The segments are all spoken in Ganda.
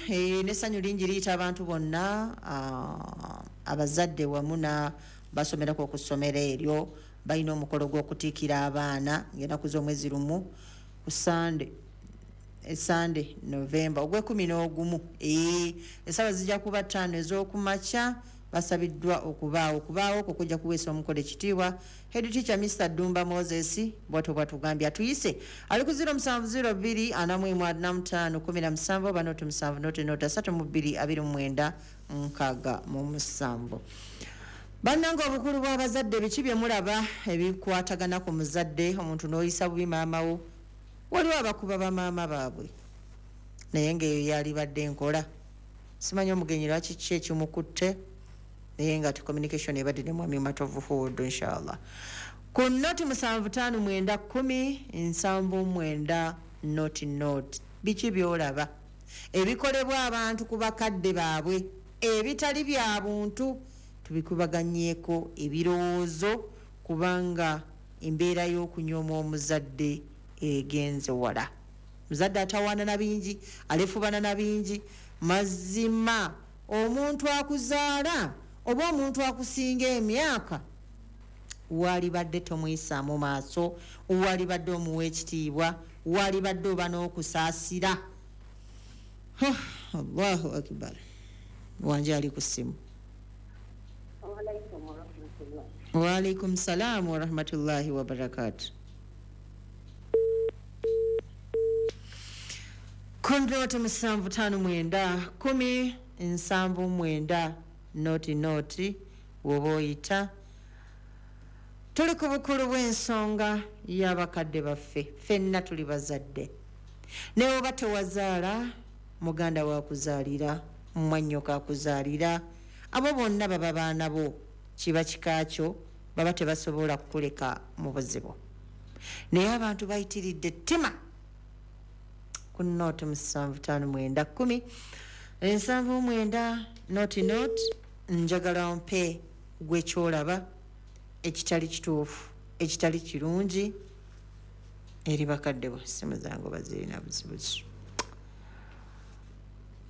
N'essanyu lingi liyita abantu bonna, abazadde wamu na basomerako ku ssomero eryo. Balina omukolo gw'okutiikira abaana ng'ennaku z'omwezi 1 ku Sande, Sande Novemba ogw'11. Essaawa zijja kuba 5 ez'okumakya. Basabiddwa okubaawo okwo kujja kuweesa omukolo ekitiibwa. Head teacher Mr Dumba Moses bwatyo bwatugambye. Atuyise ali ku 0702 41 45 17 oba 0 7 0 0 32 29 67. Bannange, obukulu bw'abazadde, biki bye mulaba ebikwatagana ku muzadde? Omuntu n'oyisa bubi maama wo. Waliwo abakuba bamaama baabwe, naye ng'eyo yalibadde enkola. Simanyi omugenyi lwaki kiki ekimukutte, naye nga ti communication ebadde ne Mwami Matovu Hood. Inshallah ku 0 7 5 9 10 79 0 0. Biki byolaba ebikolebwa abantu ku bakadde baabwe ebitali bya buntu? Tubikubaganyeeko ebirowoozo, kubanga embeera y'okunyooma omuzadde egenze wala. Muzadde atawaana na bingi, alefubana na bingi. Mazima omuntu akuzaala oba omuntu akusinga emyaka, walibadde tomuyisaamu maaso, walibadde omuwa ekitiibwa, walibadde oba n'okusaasira. Allahu akbar! Wanje, ali ku ssimu. Waalaikum salaamu warahmatullahi wabarakatu. Ku 0 7 5 9 10 79 0 0 woba oyita. Tuli ku bukulu bw'ensonga y'abakadde baffe. Ffenna tuli bazadde, naye oba tewazaala, muganda wakuzaalira, mwannyoko akuzaalira, abo bonna baba baana bo, kiba kika kyo, baba tebasobola kukuleka mu buzibu. Naye abantu bayitiridde ettima. Ku 0 7 5 9 10 79 0 0, njagala mpe gwe kyolaba ekitali kituufu, ekitali kirungi eri bakadde bo. Simu zange oba zirina buzibuzi.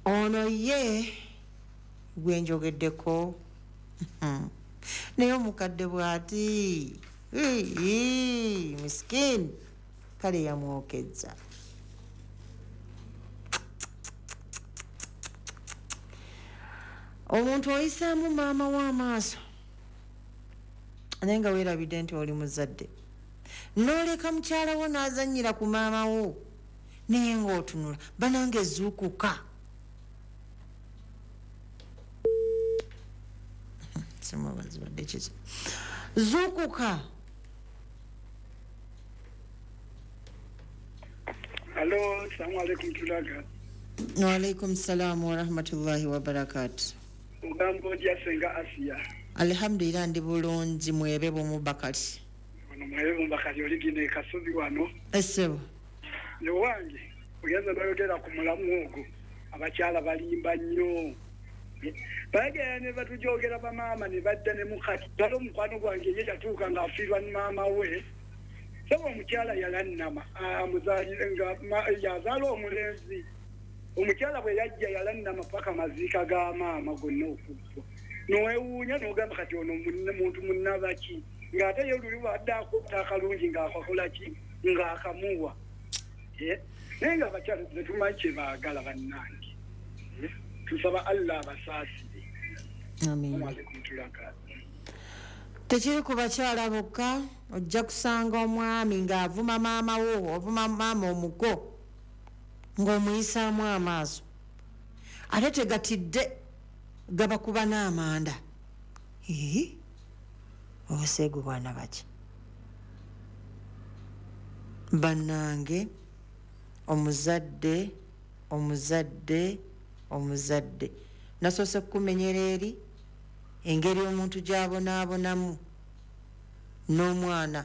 Ono ye gwenjogeddeko, naye omukadde bw'ati misikini, kale yamwokezza. Omuntu oyisaamu maama w'amaaso, naye nga weerabidde nti oli muzadde, n'oleka mukyala wo n'azannyira ku maama wo, naye ng'otunula. Banange, zuukuka. Simubazibadde kiki? Zuukuka. Alo, salamu alaikum tulaga. Waalaikum salaamu warahmatullahi wabarakatu. Ogamba otya, Senga Asiya? Alhamdulillah, ndi bulungi. Mwebe bwomubakali. Ono mwebe mubakali, oligina ekasubi wano. Essebo. Newange ogenza noyogera ku mulamu ogwo, abakyala balimba nnyo. Bagenda ne batujogera bamaama ne badda ne mukati. Ddala omukwano gwange ye yatuuka ng'afiirwa ne maama we. Saba omukyala yalannama amuzaalire nga yazaala omulenzi. Omukyala bwe yajja yalannama paka maziika ga maama gonna okuggwa. Nowewuunya n'ogamba, kati ono muntu munnabaki, ng'ate ye luli bwadde akwata akalungi ng'akakola ki, ng'akamuwa. Naye nga abakyala tetumanyi kye baagala bannange. Tusaba Allah abasaasire. Amiina. Alaikum tulaka. Tekiri ku bakyala bokka. Ojja kusanga omwami ng'avuma maama wo, ovuma maama omuko, ng'omuyisaamu amaaso, ate tegatidde gabakuba n'amanda. Ii, obuseegu bwana baki? Bannange, omuzadde, omuzadde, omuzadde, nasoose kukumenyera eri engeri omuntu gy'abonaabonamu n'omwana.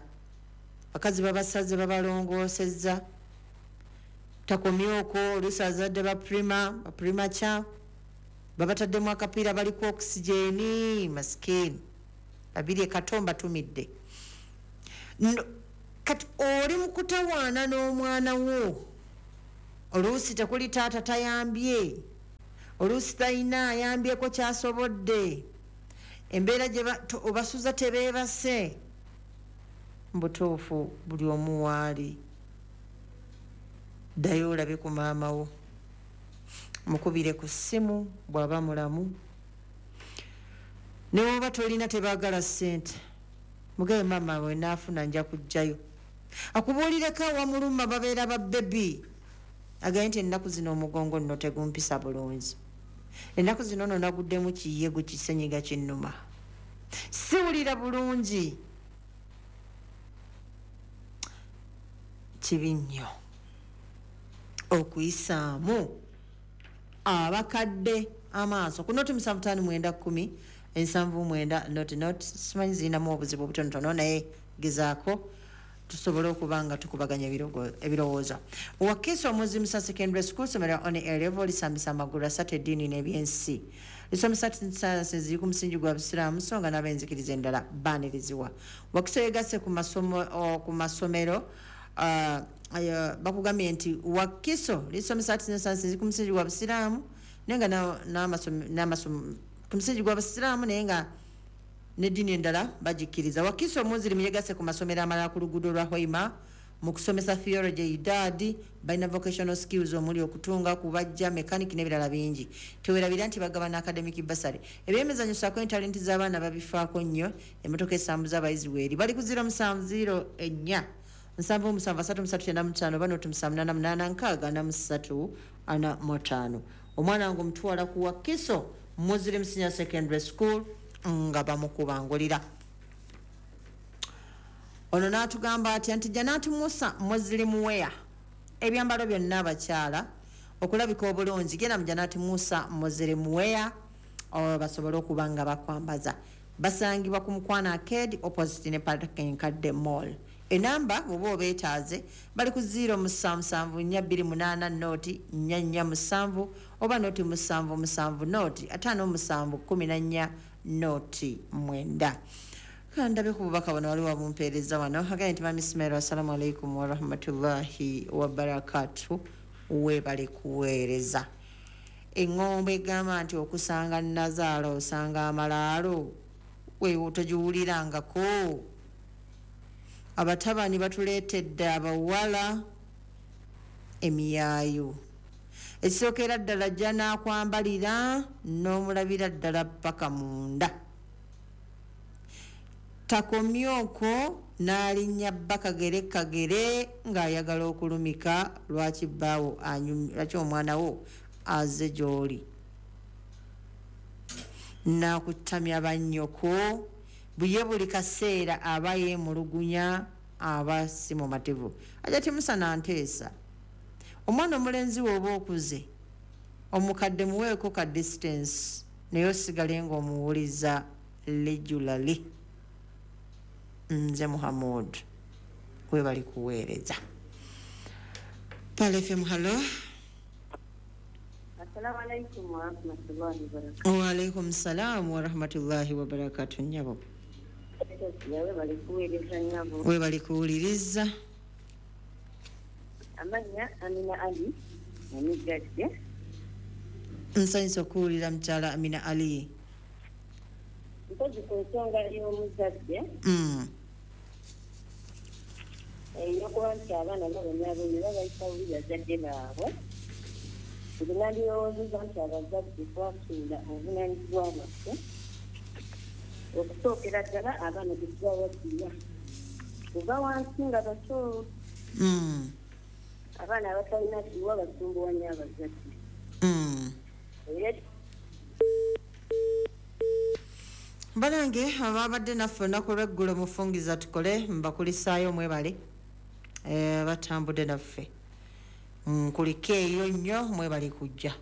Bakazi babasaze, babalongoosezza, takomye okwo. Oluusi azadde ba premature, babataddemu akapiira, baliko oxygen, masikini babiri ekatomba tumidde. Kati oli mu kutawaana n'omwana wo, oluusi tekuli taata tayambye. Oluusi talina ayambyeko kyasobodde, embeera gye obasuza tebeebase. Mbutuufu buli omu waali, ddayo olabe ku maama wo, mukubire ku ssimu bw'aba mulamu. Ne woba tolina, tebaagala ssente, mugabe maama we naafuna nja kujjayo akubuulireko awamuluma. Babeera ba baby, agaye nti ennaku zino omugongo nno tegumpisa bulungi, ennaku zino nno naguddemu kiyegu kisenyiga kinnuma, siwulira bulungi. Kibi nnyo okuyisaamu abakadde amaaso. Ku noti 759 10 79 0 0. Simanyi zirinamu obuzibu obutonotono, naye gezaako tusobole okuba nga tukubaganya ebirowoozo. Wakiso Muslim Secondary School, somero on A level, lisambisa amagulu asatu: eddiini n'ebyensi. Lisomesa sciences ziri ku musingi gwa busiraamu, so nga n'abenzikiriza endala baanirizibwa. Wakiso yegasse ku masomero bakugambye nti Wakiso lisomesa arts ne sciences ku musingi gwa busiraamu, naye nga ku musingi gwa busiraamu, naye nga n'eddiini endala bagikkiriza. Wakiso Muslim yegasse ku masomero amalala ku luguudo lwa Hoima mu kusomesa theology, idadi. Balina vocational skills omuli okutunga, kubajja, mechanic n'ebirala bingi. Tewerabira nti bagaba na academic bursary. Ebyemizanyo saako entalenti z'abaana babifaako nnyo. Emmotoka esambuza abayizi weeri. Bali ku 0704 77 3395 oba noti 788 63 45. Omwana wange omutwala ku Wakiso Muslim Senior Secondary School nga bamukubangulira. Ono n'atugamba atya nti Janati Musa Muslim Wear, ebyambalo byonna abakyala okulabika obulungi, genda mu Janati Musa Muslim Wear basobole okuba nga bakwambaza. Basangibwa ku Mukwano Arcade, opposite ne Park Enkadde Mall. Enamba bwoba obeetaaze, bali ku 0774 28 0 447 oba noti 77 noti 57 14 noti 9. Kandabe ku bubaka buno, waliwo abumpeereza wano. Agambye nti mami Ismail, assalamu alaikum warahmatullahi wabarakatu, weebale kuweereza. Eŋŋombo egamba nti okusanga nazaala osanga amalaalo, weewo togiwulirangako? Abatabani batuleetedde abawala emiyaayo. Ekisookera ddala, ajja n'akwambalira n'omulabira ddala paka munda. Takomye okwo, n'alinnya bba kagere kagere ng'ayagala okulumika. Lwaki bbaawo lwaki omwana wo aze gy'oli n'akutamya bannyoko? Buye buli kaseera aba yeemulugunya, aba si mumativu. Ajja timusana nteesa, omwana omulenzi w'oba okuze, omukadde muweeko ka distance, naye osigale ng'omuwuliza regularly. Nze Muhamud, webali kuweereza. Pearl FM, hello. Assalamu alaikum warahmatullahi wabarakatuh. Waalaikum salaamu warahmatullahi wabarakatu, nyabo. Yawe bali kuweereza nnyabo. Webali kuwuliriza. Amannya Amina Ali Emigadde. Nsanyusa okuwulira, mukyala Amina Ali. Mpozi ku nsonga y'omuzadde ey'okuba nti abaana babonyaabonye babayisa bubi bazadde baabwe. Nze nandirowoozezza nti abazadde twasuula obuvunaanyizibwa bwaffe okusookera ddala abaana tetubawaddiya kuva wansi nga bato. Abaana abatalina dduwa basumbuwa nnyo abazadde. Era Banange ababadde naffe olunaku lweggulo, mufungiza tukole, mbakulisaayo, mwebale. Batambudde naffe, nkuliko eyo nnyo, mwebale kujja,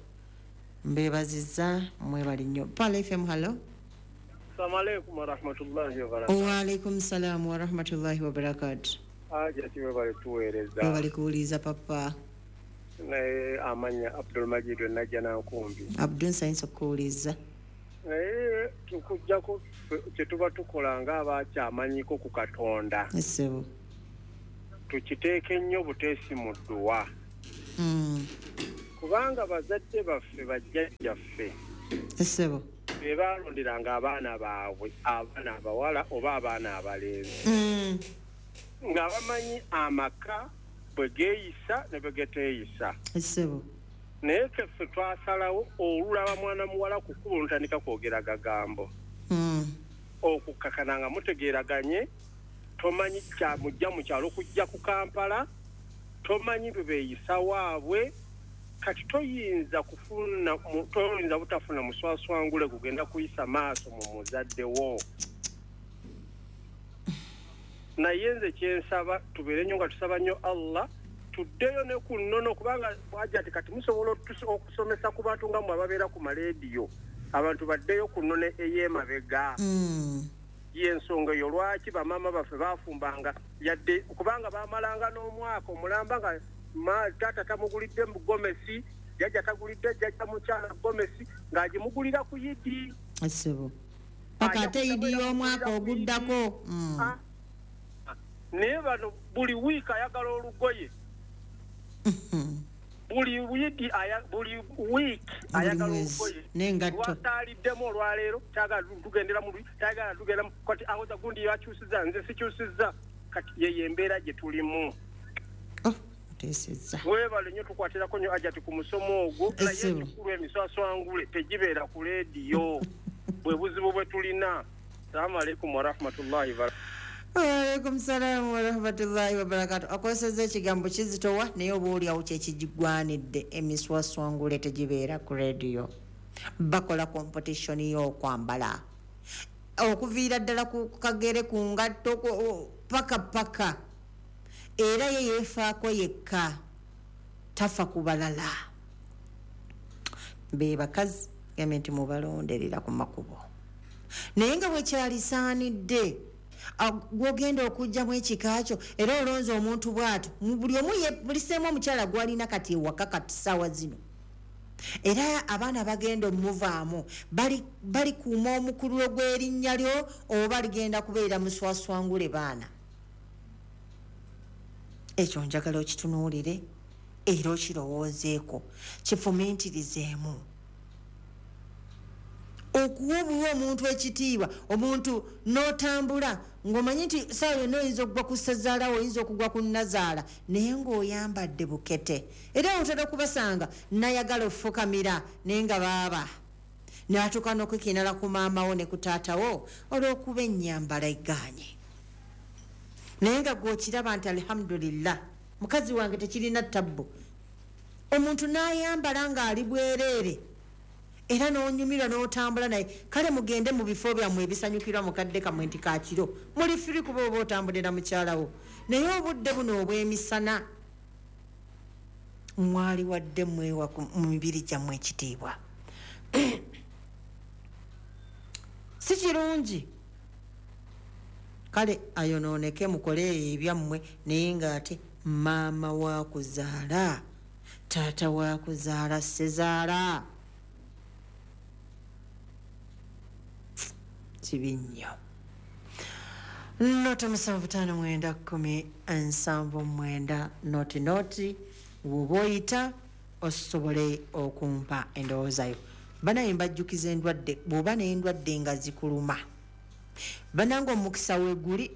mbebaziza, mwebale nnyo. Pearl FM, hello. Assalamu alaikum warahmatullahi wabarakatuh. Waalaikum salaamu warahmatullahi wabarakatu. Aja webale tuweereza. Webale kuwuliriza, papa. Naye amanya Abdul Majid Najja Nankumbi. Abdul, nsanyusa okuwuliriza. Naye tukujjako kye tuba tukola ng'abakyamanyiko ku Katonda. Essebo. Tukiteeke nnyo buteesi mu dduwa. Kubanga bazadde baffe, bajjajjaffe, Essebo. be baalonderanga abaana baabwe, abaana abawala oba abaana abalenzi, nga bamanyi amaka bwe geeyisa ne bwe geteeyisa. Essebo. Naye ffe twasalawo olulaba mwana muwala ku kkubo notandika kwogera gagambo, okukkakana nga mutegeeraganye. Tomanyi kyamujja mu kyalo kujja ku Kampala, tomanyi bwe beeyisa waabwe. Kati toyinza kufuna, toyinza butafuna muswaswangule gugenda kuyisa maaso mu muzadde wo. Naye nze kyensaba, tubeere nnyo nga tusaba nnyo Allah, tuddeyo ne ku nnono, kubanga bwajja ati kati musobola okusomesa ku bantu nga mmwe ababeera ku maleediyo, abantu baddeyo ku nnono ey'emabega. Y'ensonga eyo lwaki bamaama baffe bafumbanga, yadde kubanga bamalanga n'omwaka omulamba nga taata tamugulidde gomesi, jjajja tagulidde jjajja mukyala gomesi, ng'agimugulira ku Yidi. Essebo, paka ate Yidi y'omwaka oguddako. Naye bano buli wiiki ayagala olugoye, buli wiiki, buli wiiki ayagala olugoye. N'engatto. Lwasaaliddemu olwaleero, kyagala tugendera mu, kyagala tugenderamu. Kati awoza gundi yakyusiza, nze sikyusiza. Kati yeyo embeera gye tulimu. Oh, oteesezza. Weebale nnyo, tukwatirako nnyo Ajati ku musomo ogwo. Naye Essebo. ekikulu, emiswaswangule tegibeera ku leediyo, bwe buzibu bwe tulina. Salaamu alaikum warahmatullahi. Waalaikum salaamu warahmatullahi wabarakatu. Akozesezza ekigambo kizitowa, naye oba oliawo kyekigwanidde. Emiswaswangule tegibeera ku rediyo. Bakola competition y'okwambala okuviira ddala ku kagere, ku ngatto, paka paka. Era ye yeefaako yekka, tafa ku balala. Be bakazi gambe nti mubalonderera ku makubo, naye nga bwekyalisaanidde gwogenda okugjamu ekika kyo, era olonze omuntu bw'atyo. Buli omu buliseemu omukyala gwalina kati ewaka kati saawa zino, era abaana bagenda omuvaamu balikuuma omukululo gw'erinnya lyo, oba ligenda kubeera muswaswangule baana? Ekyo njagala okitunuulire era okirowoozeeko, kifumintirizeemu. Okuwa obuwa omuntu ekitiibwa, omuntu n'otambula ng'omanyi nti saawa yonna oyinza okugwa ku ssezaala, oyinza okugwa ku nnazaala, naye ng'oyambadde bukete. Era otera okubasanga nayagala ofukamira, naye nga baaba n'atuuka n'okwekinala ku maamawo ne ku taatawo olw'okuba ennyambala eggaanye, naye nga gw'okiraba nti alhamdulillah, mukazi wange tekirina tabbu. Omuntu n'ayambala ng'ali bwereere era n'onyumirwa n'otambula naye. Kale mugende mu bifo byammwe ebisanyukirwa mukadde kammwe nti kakiro muli free, kuba oba otambulira mukyalawo. Naye obudde buno obw'emisana mwali wadde mwewa mu mibiri gyammwe ekitiibwa, si kirungi. Kale ayonooneke, mukole ebyammwe, naye ng'ate maama wa kuzaala, taata wa kuzaala, sezaala, kibi nnyo. 07591079000 woba oyita osobole okumpa endowoozayo. Banaye mbajjukiza endwadde. Bw'oba n'endwadde nga zikuluma, banange, omukisa weeguli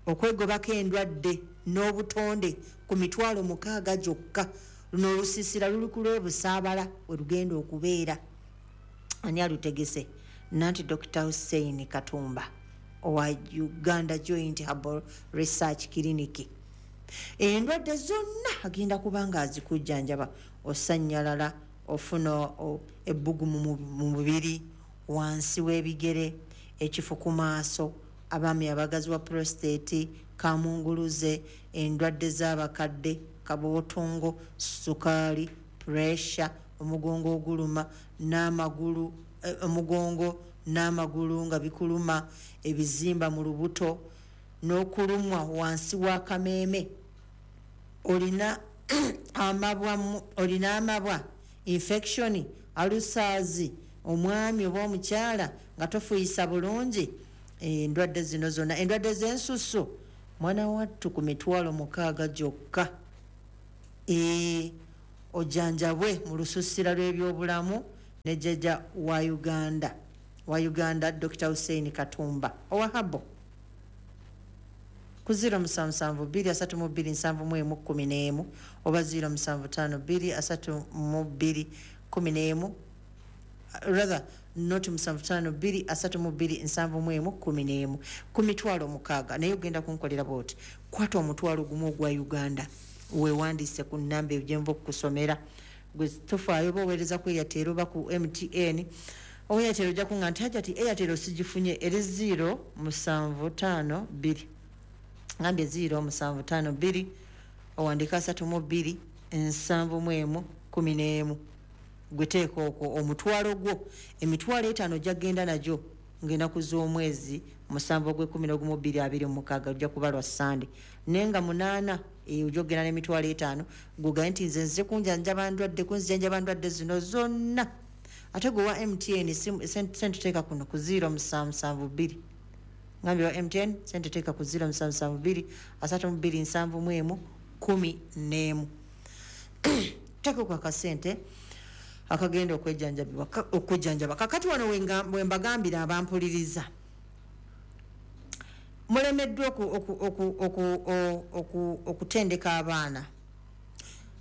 okwegobako endwadde n'obutonde ku 60,000 gyokka. Luno olusiisira luli ku lw'ebusaabala we lugenda okubeera. Ani alutegese? Nanti Dr Hussein Katumba owa Uganda Joint Herbal Research Clinic. Endwadde zonna agenda kuba nga azikujjanjaba. Osanyalala, ofuna ebbugumu mu mubiri, wansi w'ebigere, ekifu ku maaso, abaami abagazi wa prostate, kamunguluze, endwadde z'abakadde, kabootongo, sukaali, pressure, omugongo oguluma n'amagulu, omugongo n'amagulu nga bikuluma, ebizimba mu lubuto n'okulumwa wansi w'akameeme, olina amabwa, olina amabwa, infection, ulcers, omwami oba omukyala nga tofuuyisa bulungi, endwadde zino zonna, endwadde z'ensusu, mwana wattu, ku 60,000 gyokka. Ojjanjabwe mu lususira lw'ebyobulamu ne jjajja wa Uganda, wa Uganda, Dr Hussein Katumba owa Habo, ku 0772327111 oba 07523211, rather not 752327111, ku 60,000. Naye ogenda kunkolera bwoti: kwata 10,000 ogwa Uganda, wewandiise ku namba eyo gyenva okukusomera. Gwe tofaayo oba oweereza ku Airtel oba ku MTN. Owa Airtel ojja kuŋŋa nti, "Hajati, Airtel sigifunye." Eri 0752, ngambye 0752, owandika 32 71 11. Gwe teeka okwo omutwalo gwo, 50,000 ojja kgenda nagyo ng'enaku z'omwezi 7 ogw'e-11 2026, ojja kuba lwa Sande, naye nga 8 eyo ojja okgenda n'50,000. Gwegaye nti, "Nze nze kunjanjaba ndwadde, kunzijanjaba ndwadde zino zonna." Ate gwe wa MTN, sente teeka kuno ku 0772. Ngambye wa MTN, sente teeka ku 0772 32 71 11. Teeka ku akasente akagenda okujjanjaba. Kakati wano wembagambira abampuliriza, mulemeddwa okutendeka abaana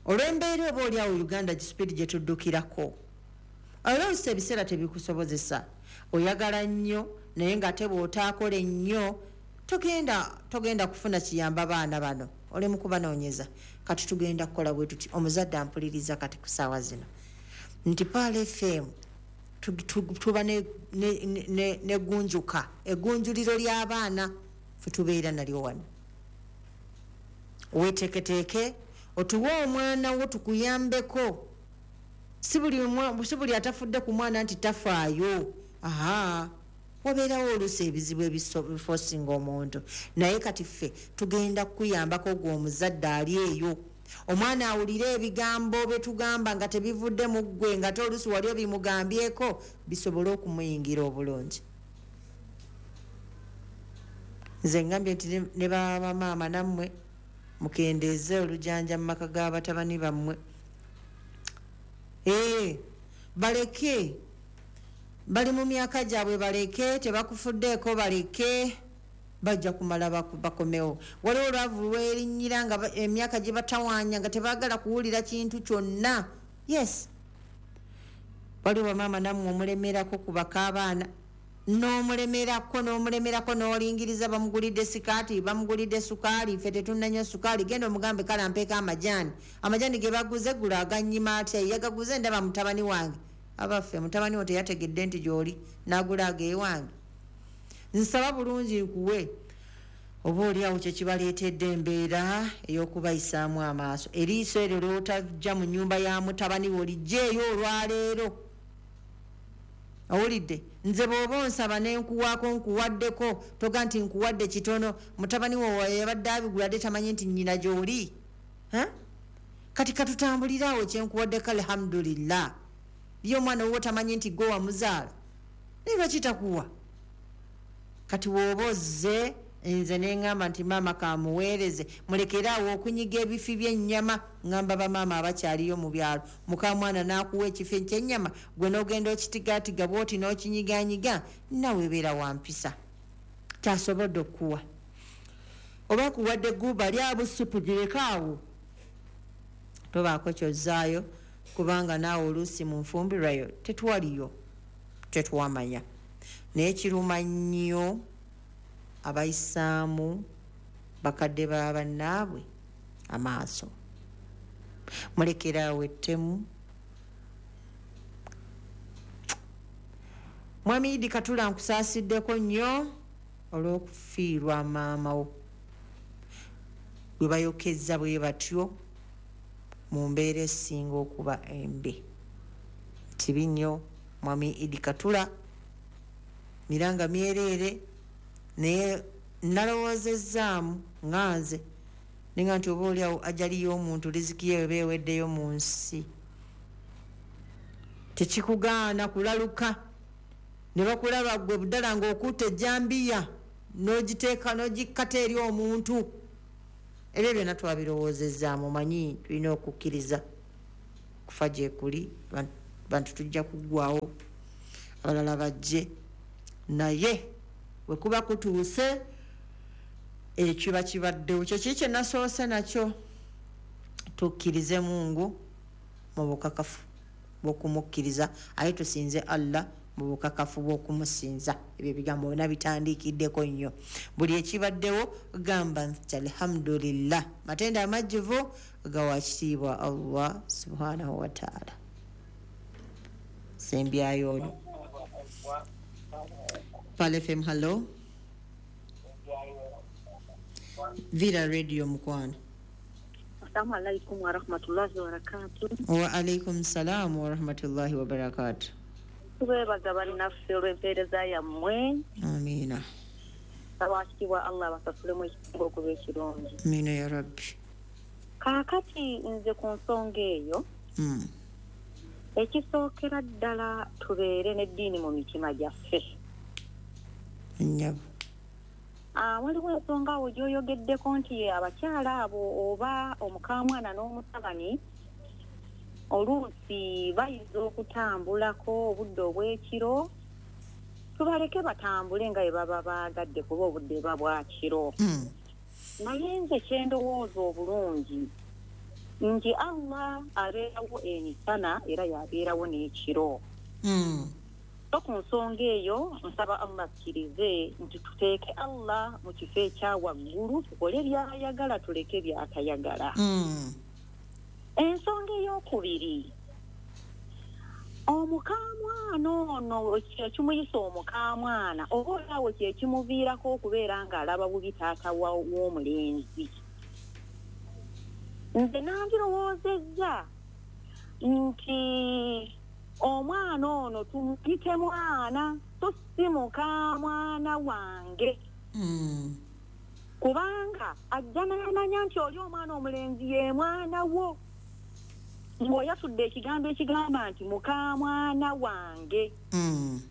olw'embeera oba oliawo Uganda gispeed gye tuddukirako. Oluusi ebiseera tebikusobozesa, oyagala nnyo, naye ng'ate bw'otaakola ennyo togenda kufuna kiyamba baana bano, oli mu kubanoonyeza. Kati tugenda kukola bwe tuti: omuzadde ampuliriza kati ku ssaawa zino, nti Pearl FM tuba negunjuka eggunjuliro ly'abaana, fe tubeera nalyo wano. Weteeketeeke otuwe omwana wo tukuyambeko. Si buli atafudde ku mwana nti tafaayo. Aha, wabeerawo oluusi ebizibu ebifosinga omuntu, naye kati ffe tugenda kukuyambako. Gwe omuzadde ali eyo, omwana awulire ebigambo byetugamba nga tebivudde mu ggwe, nga te oluusi wali obimugambyeko, bisobole okumuyingira obulungi. Nze ngambye nti ne bamaama nammwe mukendeeze olujanja mu maka g'abatabani bammwe. Ee, baleke, bali mu myaka gyabwe, baleke, tebakufuddeeko, baleke, bajja kumala bakomewo. Waliwo olwavu lwerinnyira nga emyaka gye batawaanya, nga tebaagala kuwulira kintu kyonna. Yes, waliwo bamaama nammwe omulemerako ku bakaabaana, n'omulemerako, n'omulemerako, n'olingiriza bamugulidde sikaati, bamugulidde sukaali, ffe tetunnanywa sukaali. Genda omugambe, "Kale ampeeko amajaani." Amajaani ge baguze eggulo aganyima atya? Yagaguze ndaba mutabani wange. Abaffe, mutabani wo teyategedde nti gy'oli n'agula ageewange? Nsaba bulungi nkuwe. Oba oliawo kyekibaleetedde embeera ey'okubayisaamu amaaso. Eriiso eryo lwotajja mu nnyumba ya mutabani wo, lijjeeyo olwaleero. Owulidde? Nze bw'oba onsaba nenkuwaako, nkuwaddeko, toga nti nkuwadde kitono. Mutabani wo yabadde abigula dde, tamanyi nti nnyina gy'oli. Kati katutambulire awo, kyenkuwaddeko, alhamdulillah. Ye omwana wuwo tamanyi nti gwe wamuzaala, naye lwaki takuwa? Kati bw'oba ozze, nze neŋŋamba nti maama kamuweereze, mulekere awo okunyiga ebifi by'ennyama. Ŋŋamba bamaama abakyaliyo mu byalo, mukamwana n'akuwa ekifi ky'ennyama, gwe n'ogenda okitigaatiga bw'oti n'okinyiganyiga, nawe beera wampisa. Kyasobodde okukuwa, oba kuwadde guba lyabusupu, gireke awo, tobaako kyozzaayo, kubanga naawe oluusi mu nfumbirwayo tetwaliyo, tetwamanya. Naye kiruma nnyo abayisaamu bakadde ba bannaabwe amaaso. Mulekeraawo ettemu. Mwami Idi Katula, nkusaasiddeko nnyo olw'okufiirwa maama wo bwe bayokezza bwe batyo mu mbeera esinga okuba embi. Kibi nnyo, mwami Idi Katula, miranga myereere. Naye nalowoozezzaamu nga nze ninga nti oba oliawo ajaliyo omuntu riziki ye weba eweddeyo mu nsi, tekikugaana kulaluka ne bakulaba gwe buddala ng'okutta ejjambiya n'ogiteeka n'ogikkata eri omuntu. Ebyo byonna twabirowoozezaamu. Manyi tulina okukkiriza. Kufa gye kuli, bantu tujja kuggwawo, abalala bajje, naye bwe kuba kutuuse ekiba kibaddewo. Kyekiri kye nasoose nakyo, tukkirize Mungu mu bukakafu bw'okumukkiriza, aye tusinze Allah mu bukakafu bw'okumusinza. Ebyo ebigambo byonna bitandiikiddeko nnyo. Buli ekibaddewo gamba nti alhamdulillah, matendo amajjuvu gawa kitiibwa Allah subhanahu wa ta'ala. Sembyayo ono. Pal FM, hello. Villa Radio mukwano. Assalamu alaikum wa rahmatullahi wa barakatuh. Wa alaikum salam wa rahmatullahi wa barakatuh. Tubeebaza bannaffe olw'empeereza yammwe. Amiina. Abakitiibwa Allah basasulemu ekisinga okuba ekirungi. Amiina ya Rabbi. Kaakati nze ku nsonga eyo, ekisookera ddala tubeere n'eddiini mu mitima gyaffe. Nnyabo. Waliwo ensonga awo gy'oyogeddeko nti abakyala abo oba omukamwana n'omutabani oluusi bayinza okutambulako obudde obw'ekiro, tubaleke batambule nga bwe baba baagadde kuba obudde buba bwa kiro. Naye nze kye ndowooza obulungi nti Allah abeerawo emisana era y'abeerawo n'ekiro. So ku nsonga eyo nsaba Allah akkirize nti tuteeke Allah mu kifo ekya waggulu, tukole by'ayagala tuleke by'atayagala. Ensonga ey'okubiri, omukamwana ono ekimuyisa omukamwana oba olaawo kye kimuviirako okubeera ng'alaba bubi taata w'omulenzi. Nze nandirowoozezza nti omwana ono tumuyite mwana, so si mukamwana wange. Kubanga ajja n'amanya nti oli omwana omulenzi ye mwana wo, ng'oyatudde ekigambo ekigamba nti mukamwana wange.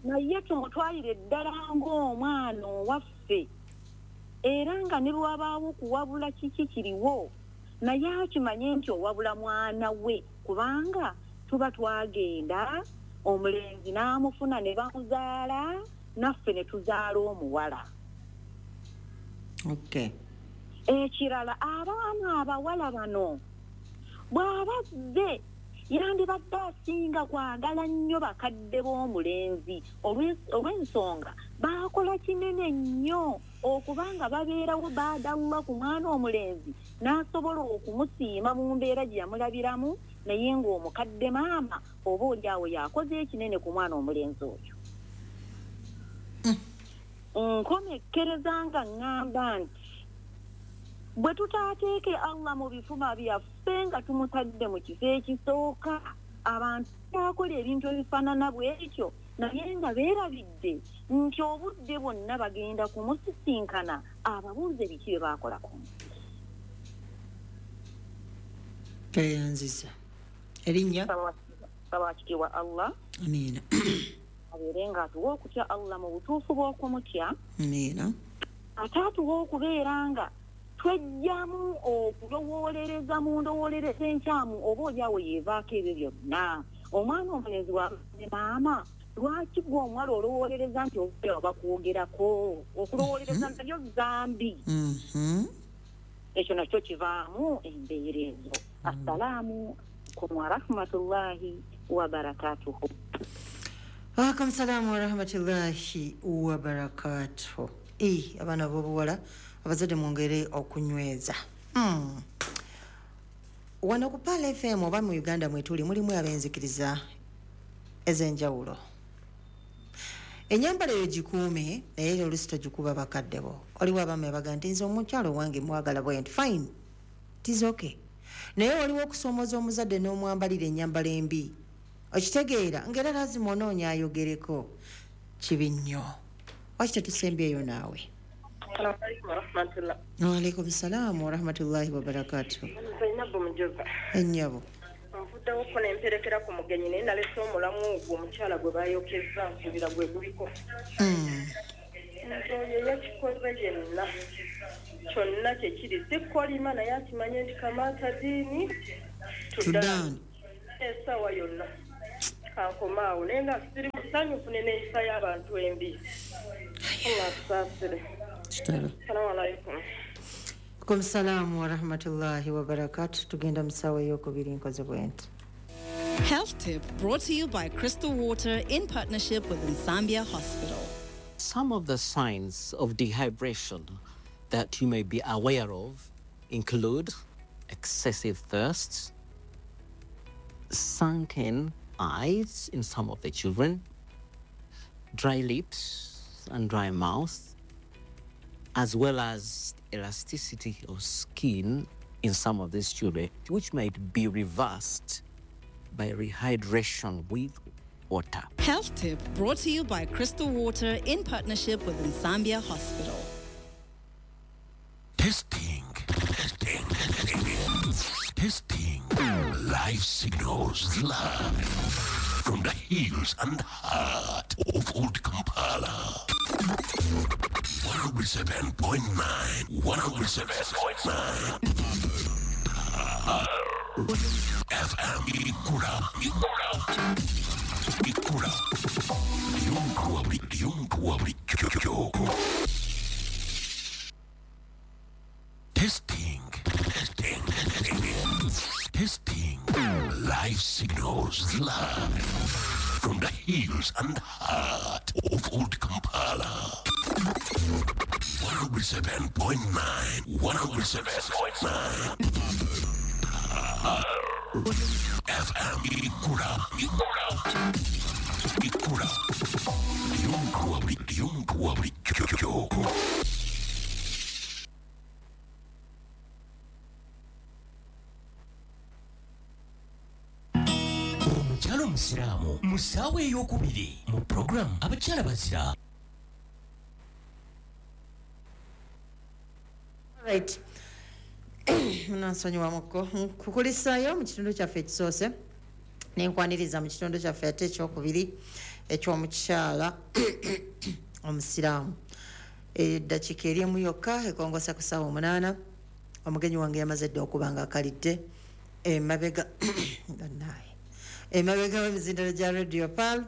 Naye tumutwalire ddala ng'omwana owaffe, era nga ne bwe wabaawo kuwabula kiki kiriwo, naye akimanye nti owabula mwana we, kubanga tuba twagenda omulenzi n'amufuna ne bamuzaala, naffe ne tuzaala omuwala. Okay. Ekirala, abaana abawala bano bw'abazze yandibadde asinga kwagala nnyo bakadde b'omulenzi olw'ensonga baakola kinene nnyo okubanga babeerawo baadawula ku mwana omulenzi n'asobola okumusiima mu mbeera gye yamulabiramu, naye ng'omukadde maama oba oli awo yakoze ekinene ku mwana omulenzi oyo. Nkomekkereza nga ŋŋamba nti bwe tutaateeke Allah mu bifuma byaffe nga tumutadde mu kifo ekisooka, abantu bakola ebintu ebifaanana bw'ekyo naye nga beerabidde nti obudde bwonna bagenda kumusisinkana ababuuze biki bye baakola ku nsi. Tweyanziza. Erinnya? Sabakitiibwa Allah. Amiina. Abeere ng'atuwa okutya Allah mu butuufu bw'okumutya. Amiina. Ate atuwa okubeera nga twejjamu okulowoolereza mu ndowoolereza enkyamu oba oli awo yeevaako ebyo byonna. Omwana omulenzi wa maama, lwaki gwe omuwala olowoolereza nti oba bakwogerako? Okulowoolereza nabyo zambi. Ekyo nakyo kivaamu embeera ezo. Assalaamu alaikum warahmatullahi wabarakatuhu. Waalaikum salaamu warahmatullahi wabarakatuhu. Abaana b'obuwala abazadde mwongere okunyweza. Wano ku Pearl FM oba mu Uganda mwetuli mulimu ab'enzikiriza ez'enjawulo. Ennyambala eyo gikuume, naye era oluusi togikuba bakadde bo. Waliwo abaami abaga nti nze omukyalo wange mwagala bwe nti fine, it is okay. Naye waliwo okusoomooza omuzadde n'omwambalira ennyambala embi. Okitegeera ng'era lazima onoonya ayogereko. Kibi nnyo. Lwaki tetusembyeyo naawe? Waalaikum salaamu warahmatullahi wabarakatuh. Ennyabo. Nvuddewo ko nemperekera ku mugenyi naye nalese omulamu ogwo omukyala gwe baayokeza nsubira gwe guliko. Nze oyo yakikoze yenna kyonna kye kiri, si kolima naye akimanye nti kamaata diini Tudan. Essaawa yonna kankomaawo, naye nga siri musanyufu n'enneeyisa y'abantu embi. Allah atusaasire. Salaamu alaykum. Alaikum salaamu warahmatullahi wabarakatu. Tugenda mu ssaawa ey'okubiri, nkoze bwe nti. Health Tip brought to you by Crystal Water in partnership with Nsambya Hospital. Some of the signs of dehydration that you may be aware of include excessive thirst, sunken eyes in some of the children, dry lips and dry mouth, as well as elasticity of skin in some of these children, which might be reversed by rehydration with water. Health Tip brought to you by Crystal Water in partnership with Nsambya Hospital. Testing, testing, testing, testing. Live signals live from the hills and heart of Old Kampala. 107.9, 107.9. FM Ikura, Ikura, Ikura. Testing, testing, testing, testing. Live signals live from the hills and heart of Old Kampala. 107.9, 107.9. FM Ikura, Ikura, Ikura. Omukyala omusiraamu mu ssaawa ey'okubiri mu puroguramu Abakyala Bazira. Right. Munansonyiwamuko nkukulisaayo mu kitundu kyaffe ekisoose, nenkwaniriza mu kitundu kyaffe ate ekyokubiri eky'omukyala omusiraamu. Eddakiika eri emu yokka ekongosa ku ssaawa 8. Omugenyi wange yamaze dda okuba nga akalidde emabega gannaye emabega w'emizindalo gya Radio Pearl.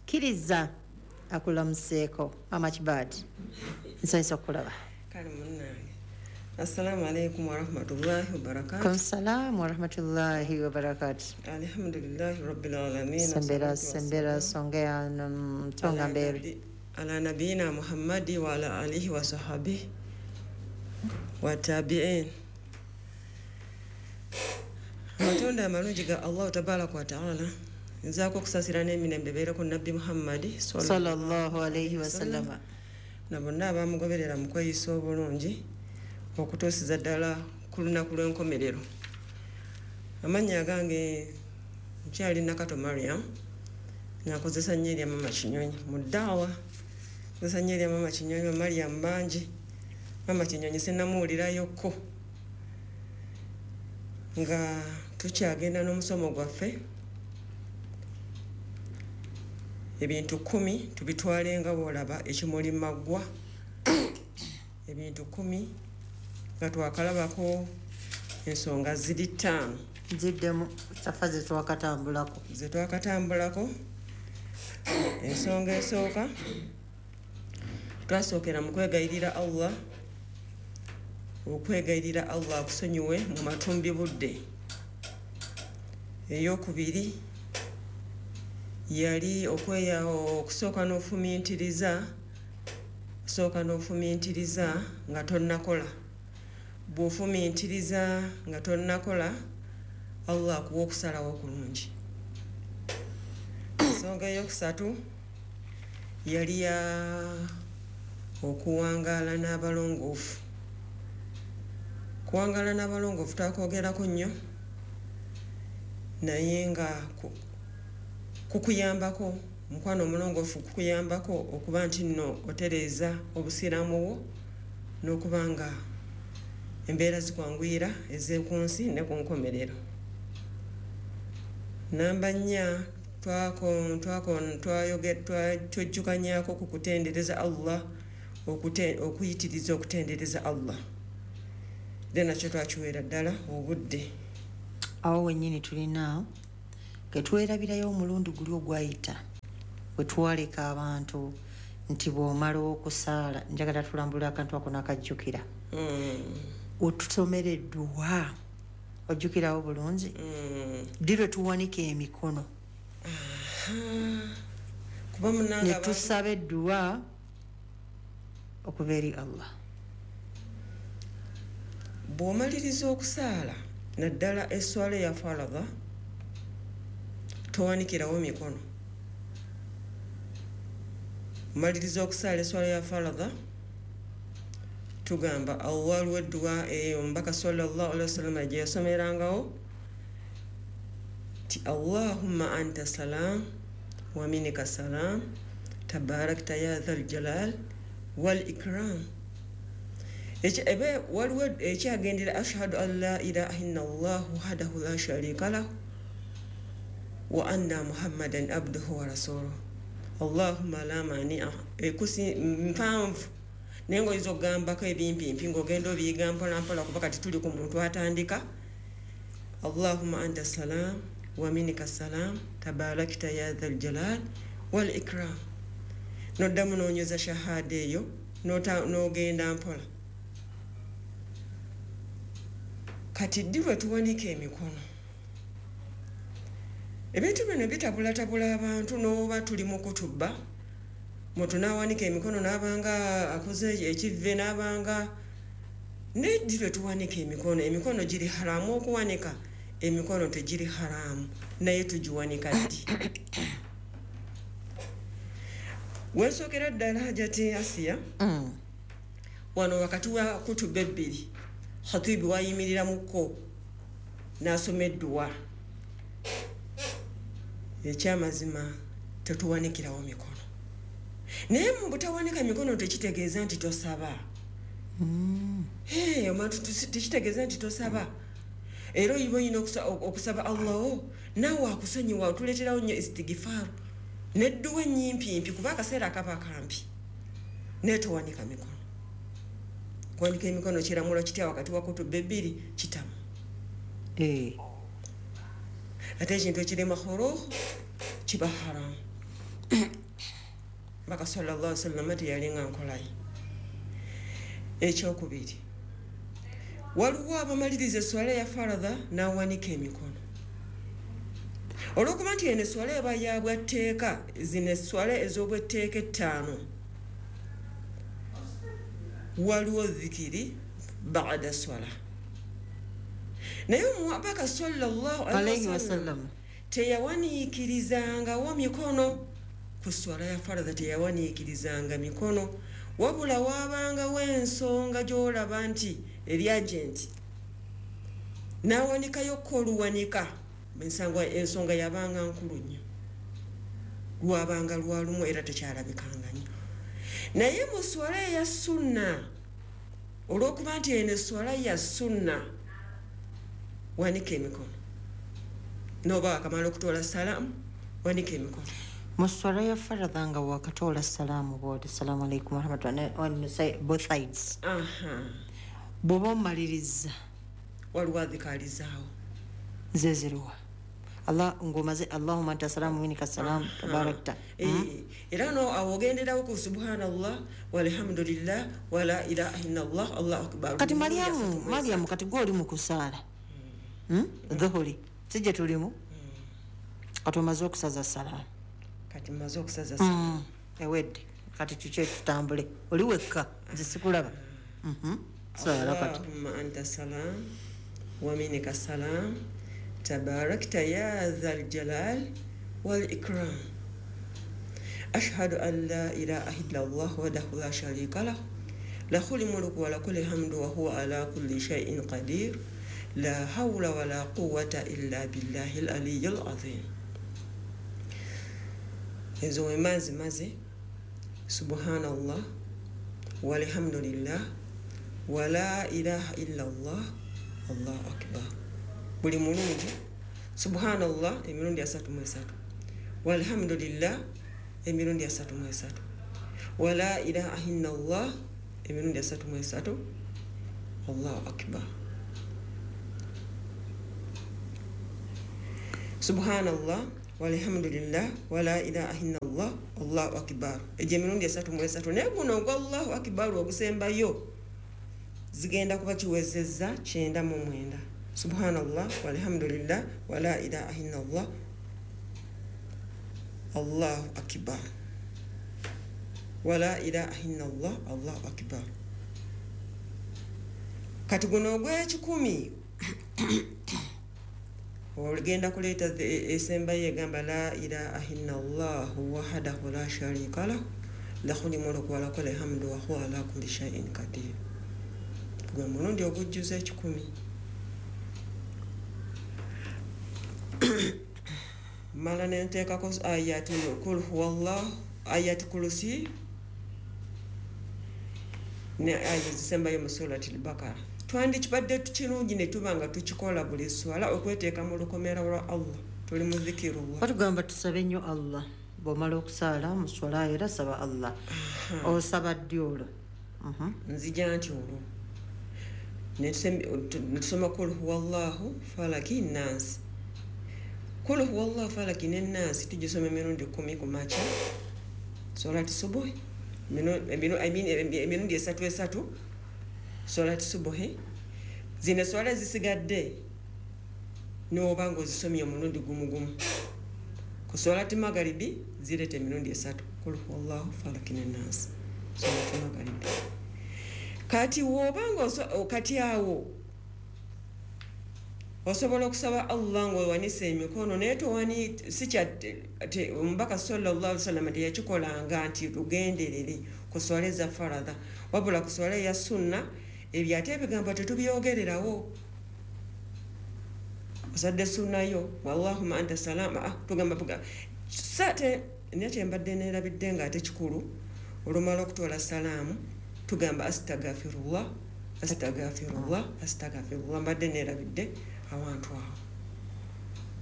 Kkiriza akulamuseeko. Amachbad, nsanyusa okukulaba. Kale munnange. Assalamu alaikum warahmatullahi wabarakatuh. Kum salam warahmatullahi wabarakatuh. Alhamdulillahi rabbil alamin. Sembera sembera songea mtonga mbele. Ala nabiyina Muhammadi wa ala alihi wa sahbihi wa tabi'in. Amatonda amalungi ga Allah tabaraka wa ta'ala. Nzaako okusasira n'emirembe beere ku Nabbi Muhammadi sallallahu alayhi wa sallam. Na bonna abamugoberera mu kweyisa obulungi okutuusiza ddala ku lunaku lw'enkomerero. Amannya gange nkyali Nakato Mariam, nakozesa nnyo erya Mama Kinyonyi mu ddaawa. Nkozesa nnyo erya Mama Kinyonyi, Mariam bangi. Mama Kinyonyi sinnamuwulirayokko. Nga tukyagenda n'omusomo gwaffe, ebintu 10 tubitwale nga bw'olaba ekimuli maggwa. Ebintu 10 nga twakalabako ensonga ziri 5 ziddemu safa ze twakatambulako. Ze twakatambulako. Ensonga esooka twasookera mu kwegayirira Allah, okwegayirira Allah akusonyiwe mu matumbi budde. Eyokubiri yali okweya okusooka n'ofumiitiriza, osooka n'ofumiitiriza nga tonnakola. Bw'ofumiitiriza nga tonnakola, Allah akuwa okusalawo okulungi. Ensonga eyokusatu yali ya okuwangaala n'abalongoofu. Kuwangaala n'abalongoofu twakwogerako nnyo, naye nga kukuyambako, mukwano omulongoofu kukuyambako okuba nti nno otereeza obusiraamu bwo n'okuba nga embeera zikwanguyira ez'oku nsi ne ku nkomerero. Namba 4 twajjukanyaako ku kutendereza Allah, okuyitiriza okutendereza Allah. Era nakyo twakiweera ddala obudde. Awo wennyini tulina ketwerabirayo omulundi guli ogwayita we twaleka abantu nti bw'omala okusaala, njagala tulambula akantu ako n'akajjukira. Otusomera edduwa, ojjukirawo bulungi? Ddi lwe tuwanika emikono ne tusaba edduwa okuva eri Allah? Bw'omaliriza okusaala, naddala esswala eya faradha, towanikirawo mikono. Omaliriza okusaala esswala ya faradha, tugamba waliwo edduwa eyo omubaka sallallahu alaihi wasallam gye yasomerangawo ti Allahumma anta salam wa minka salam tabarakta ya dhal jalal wal ikram. Ebe waliwo ekyagendera ashhadu an la ilaha illallah wahdahu la sharika lahu wa anna muhammadan abduhu wa rasuluhu Allahumma la mani'a. Ekusi mpanvu naye ng'oyinza okugambako ebimpimpi ng'ogenda obiyiga mpola mpola, kuba kati tuli ku muntu atandika. Allahumma anta salam wa minka salam tabarakta ya dhal jalal wal ikram. Noddamu n'onyweza shahada eyo n'ogenda mpola. Kati ddi lwe tuwanika emikono? Ebintu bino bitabulatabula abantu, n'oba tuli mu kutubba, muntu n'awanika emikono n'abanga akoze ekivve n'abanga. Neddi lwe tuwanika emikono? Emikono giri haramu okuwanika? Emikono tegiri haramu, naye tugiwanika ddi? Wensookera ddala Hajati Asiya, wano wakati wa kutuba ebbiri, khatibu wayimiriramuko n'asoma edduwa. Ekyamazima tetuwanikirawo mikono, naye mu butawanika mikono tekitegeeza nti tosaba. Omuntu tekitegeeza nti tosaba, era oyiba olina okusaba Allah wo naawe akusonyiwa, otuleeterawo nnyo istigifaru nedduwa ennyimpiimpi, kuba akaseera akaba kampi, naye towanika mikono. Kuwanika emikono kiramulo kitya wakati wa kutuba ebbiri? Kitamu. Ate ekintu ekiri makruh kiba haramu. Mbaka sallallahu alaihi wasallam teyalinga nkolaye. Ekyokubiri, waliwo abamaliriza esswala ya faradha n'awanika emikono. Olw'okuba nti eno esswala eba ya bwatteeka, zino esswala ez'obwetteeka ettaano, waliwo dhikiri ba'da swala. Naye omubaka sallallahu alaihi wasallam teyawaniikirizangawo mikono ku swala ya faradha, teyawaniikirizanga mikono, wabula waabangawo ensonga gy'olaba nti eri agenti n'awanikayokko oluwanika. Ensonga yabanga nkulu nnyo, lwabanga lwalumu era tekyalabikanga nnyo. Naye mu swala eya sunna, olw'okuba nti eno eswala ya sunna, wanika emikono n'oba wakamala okutoola salaamu, wanika emikono. Mu swala ya faradha nga wakatoola salaamu bwoti salaamu alaikum warahmatullahi, on both sides, bw'oba omaliriza waliwo adhikaalizaawo zeziruwa Allah ng'omaze Allahumma anta salaamu minka salaamu tabarakta. Era no awo ogenderawo ku subhanallah walhamdulillah wala ilaha illallah Allahu akbar. Kati Mariamu kati gwe oli mu kusaala dhuhuri sijje tulimu, kati omaze okusaza salaamu, kati mmaze okusaza salaamu ewedde, kati tukye tutambule, oli wekka nze sikulaba. Saala kati Allahumma anta salam wa minka salam tabarakta ya dhal jalal wal ikram ashhadu an la ilaha illallah wahdahu la sharika lah lahul mulku wa lahul hamdu wa huwa ala kulli shay'in qadir la hawla wa la quwwata illa billahil aliyyil azim. Ezo wemazi maze subhanallah walhamdulillah wa la ilaha illallah Allahu akbar. Buli mulundi subhanallah emirundi 33, walhamdulillah emirundi 33, wala ilaha illallah emirundi 33, Allahu akbar. Subhanallah walhamdulillah wala ilaha illallah Allahu akbar. Egyo emirundi 3 mu 3, naye guno ogwa Allahu akbar ogusembayo zigenda kuba kiwezezza 99. Subhanallah walhamdulillah wala ilaha illallah Allahu akbar wala ilaha illallah Allahu akbar. Kati guno ogw'ekikumi ogenda kuleeta esembayo egamba la ilaha illallah wahdahu la sharika lahu lahul mulku wa lahul hamdu wa huwa ala kulli shay'in qadir. Gwe mulundi ogujjuza 100. Mala nenteekako ayati kul huwallah, ayati kulusi ne aya zisembayo mu surati al-Baqara. Twandikibadde tukirungi ne tuba nga tukikola buli swala okweteeka mu lukomera lwa Allah, tuli mu zikirullah. Batugamba tusabe nnyo Allah bw'omala okusaala mu swala era saba Allah. Osaba ddi olwo? Nzija nti olwo netusoma kul huwallahu falaki nansi. Kul huwallahu falaki ne nansi tugisoma emirundi 10 ku makya, solati subuhi, emirundi 3 3 solati subuhi. Zino swala zisigadde n'oba ng'ozisomye omulundi gumu gumu. Ku solati magaribi zireeta emirundi 3, kul huwallahu falaki ne nansi, solati magaribi. Kati w'oba kati awo osobola okusaba Allah ng'owanise emikono, naye towani si omubaka sallallahu alaihi wasallam teyakikolanga nti tugenderere ku swala eza faradha, wabula ku swala eya sunna ebyo ate ebigambo tetubyogererawo. Osadde sunnayo wallahumma anta salama, tugamba sate naye kyembadde neerabidde ng'ate kikulu, olumala okutoola salaamu tugamba astagfirullah astagfirullah astagfirullah. Mbadde neerabidde awantu awo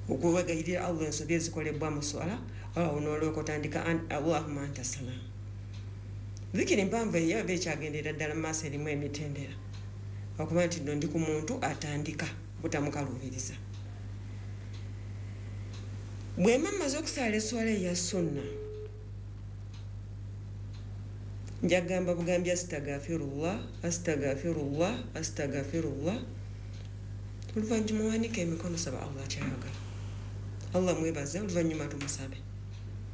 okuwegayirira Allah ensobi ezikolebwa mu swala, awo n'olyoka otandika allahumma anta salaamu. Zikiri mpanvu eyo eba ekyagenderera ddala mu maaso, erimu emitendera okuba nti nno ndi ku muntu atandika butamukaluubiriza. Bwe mba mmaze okusaala eswala eya sunna, njagamba bugambi astagfirullah astagfirullah astagfirullah. Oluvannyuma owanike emikono, saba Allah kyayagala, Allah mwebaze, oluvannyuma tumusabe.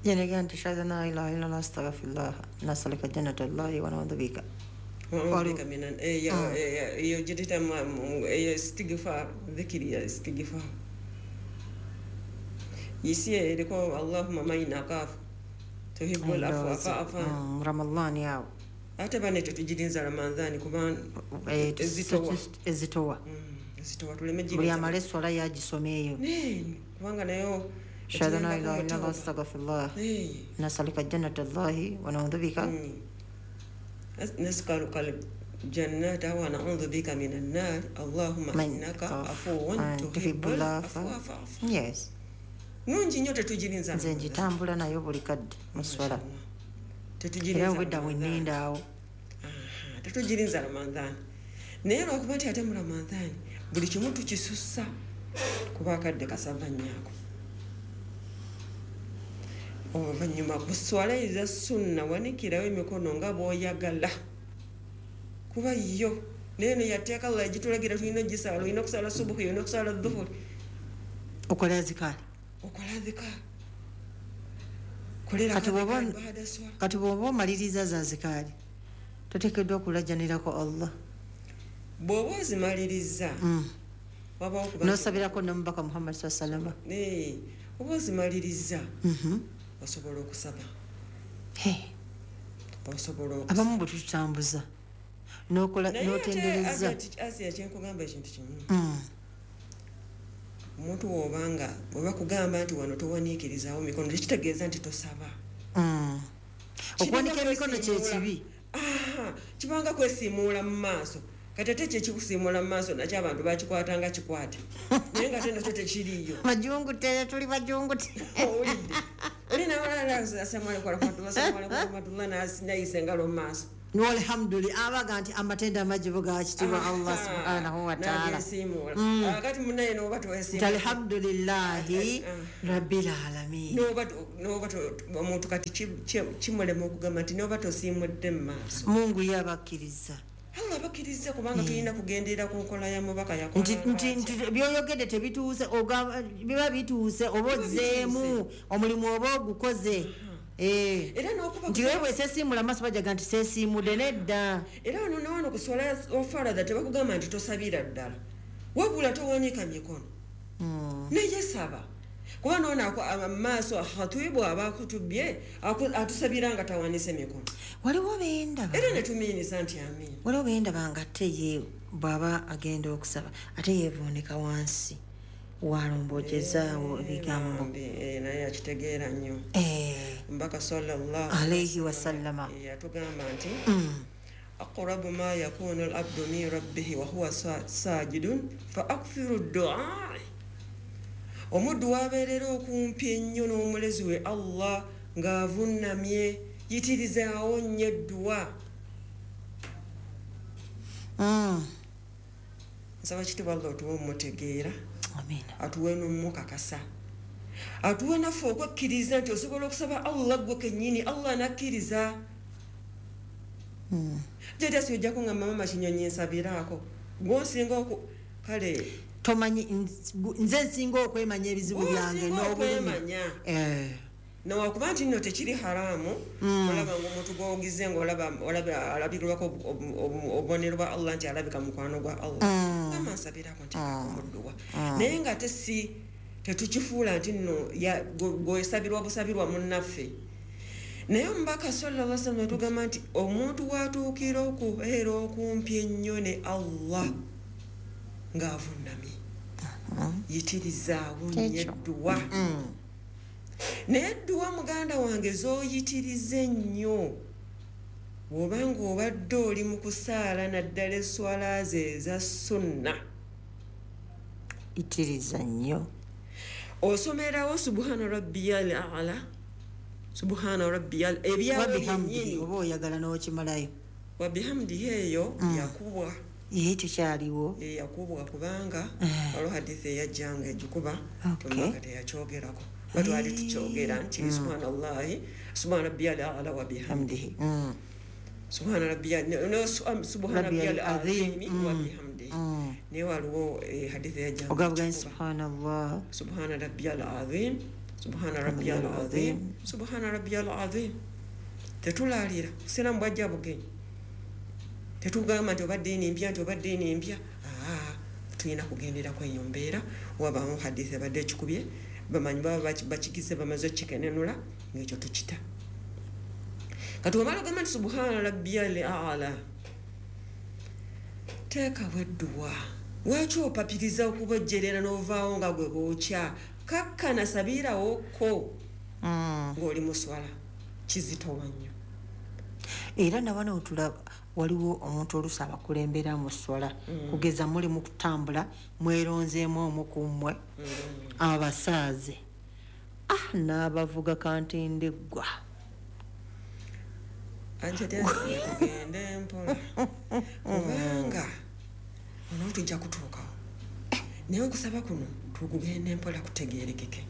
Yenega nti shahada la ilaha illallah astaghfirullah nasalika jannatallahi wa na'udhu bika eyo gituyita eyo istighfar, dhikiri ya istighfar yisi eriko allahumma maina kafu tuhibbul afwa fa'fu Ramadhani awo ate bane tetugirinza Ramadhani kuba ezitowa ezitowa tuleme buli amala eswala yagisoma eyo kubanga nayo shahada la ilaha illallah astaghfirullah nasalika jannatallahi wa na'udhu bika nas'aluka al-jannata wa na'udhu bika minan nar allahumma innaka afuwun tuhibbul afwa fa'fu. Yes, nungi nnyo tetugirinza. Nze ngitambula nayo buli kadde mu swala, era obwedda bwe nninda awo tetugirinza Ramadhani. Naye lwakuba nti ate mu Ramadhani buli kimu tukisussa kuba akadde kasava nnyo. Oluvannyuma ku swala eza sunna wanikirawo emikono nga bw'oyagala, kuba yo naye no yateeka Allah egitulagira tulina ogisaala, olina okusaala subuhi, olina okusaala dhuhuri, okola azikaari, okola azikaari. Kati bw'oba omaliriza za azikaari toteekeddwa okulajjanirako Allah. Bw'oba ozimaliriza n'osabirako n'omubaka Muhammad sallallahu alaihi wasallam, oba ozimaliriza osobola okusaba. Osobola okusaba. Abamu bwe tutambuza n'okola n'otendereza. Asiya kyenkugamba ekintu kimu, omuntu w'obanga bwe bakugamba nti wano towaniikirizaawo mikono tekitegeeza nti tosaba. Okuwanika emikono kye kibi. Kibanga kwesiimuula mu maaso. Kati ate kye kikusiimuula mu maaso nakyo abantu bakikwatanga kikwate, naye nga ate nakyo tekiriiyo. Majungute, tuli bajungute. Owulidde oli nabalala assalamu alaikum warahmatullahi warahmatullahi nayisa engalo mu maaso. Alhamdulillah abaga nti amatendo amajibu ga kitibwa Allah subhanahu wa ta'ala. Kati munaye n'oba toweesiimula. Alhamdulillahi rabbil alamin. N'oba omuntu kati kimulema okugamba nti n'oba tosiimudde mu maaso. Mungu yabakkiriza. Allah bakkiriza kubanga tulina kugenderera ku nkola ya mubaka yakola. Nti by'oyogedde tebituuse, biba bituuse oba ozzeemu omulimu oba ogukoze. Era n'okuba nti wewe seesiimula maaso bajaga nti seesiimudde nedda. Era wano ne wano ku swala ofaradha tebakugamba nti tosabira ddala, wabula towanika mikono naye saba, kuba noona amaaso khatibu aba akutubye atusabira nga tawanise mikono. Waliwo bendaba era ne tumiinisa nti amiina. Waliwo bendaba nga ate ye bw'aba agenda okusaba ate yeevuunika wansi walombojezaawo ebigambo. Naye akitegeera nnyo. Mbaka sallallahu alayhi wasallama yatugamba nti aqrabu ma yakunu al-abdu min rabbihi wa huwa sajidun fa akthiru ad-du'a. Omuddu wabeerera okumpi ennyo n'omulezi we Allah ng'avunnamye, yitirizaawo nnyo edduwa. Nsaba kitibwa Allah otuwe omutegeera, atuwe n'omukakasa, atuwe naffe okwekkiriza nti osobola okusaba Allah gwe kennyini, Allah n'akkiriza. Jjajja si ojja kuŋŋamba mama Kinyonyi nsabiraako, gw'osinga kale tomanyi nze nsinga okwemanya ebizibu byange n'okwemanya. Newakuba nti nno tekiri haramu, olaba ng'omuntu gw'ogize ng'olaba alabirwako obubonero bwa Allah nti alabika mukwano gwa Allah, gamba nsabirako nteekako mu dduwa. Naye nga ate si tetukifuula nti nno gw'osabirwa busabirwa munnaffe. Naye omubaka sallallahu alaihi wasallam yatugamba nti omuntu w'atuukira okubeera okumpi ennyo ne Allah ng'avunnamye, yitirizaawo nnyo edduwa. Naye edduwa muganda wange z'oyitiriza ennyo bw'oba ng'obadde oli mu kusaala naddala esswala ze eza sunna, itiriza nnyo. Osomerawo subhana rabbiyal a'la, subhana rabbiyal ebyawo byennyini oba oyagala n'okimalayo. Wabihamdihi eyo yakubwa. Ye tekyaliwo. Yakubwa kubanga waliwo hadithi eyajjanga egikuba omubaka teyakyogerako. Batwali tukyogera nti subhanallahi subhana rabbiyal a'la wa bihamdihi, subhana rabbiyal subhana rabbiyal azim wa bihamdihi. Naye waliwo hadithi eyajjanga ogamba subhanallah subhana rabbiyal azim, subhana rabbiyal azim, subhana rabbiyal azim. Tetulaalira busiraamu bwajja bugenyi, tetugamba nti oba ddiini mpya nti oba ddiini mpya. Tulina kugenderako eyo mbeera. Wabaamu hadithi ebadde ekikubye, bamanyi baba bakigize bamaze okukikenenula ng'ekyo tukita. Kati omala ogamba nti subhana rabbiyal a'la, teekawo edduwa. Lwaki opapiriza okubojjerera n'ovaawo nga gwe bookya? Kakkana sabiirawokko ng'oli mu swala, kizitowa nnyo. Era nawano otulaba waliwo omuntu oluusi abakulembera mu swala, kugeza muli mu kutambula mweronzeemu omu ku mmwe abasaaze n'abavuga kantindiggwa. Tugende mpola kubanga ono tujja kutuukawo, naye okusaba kuno tukugende mpola kutegeerekeke.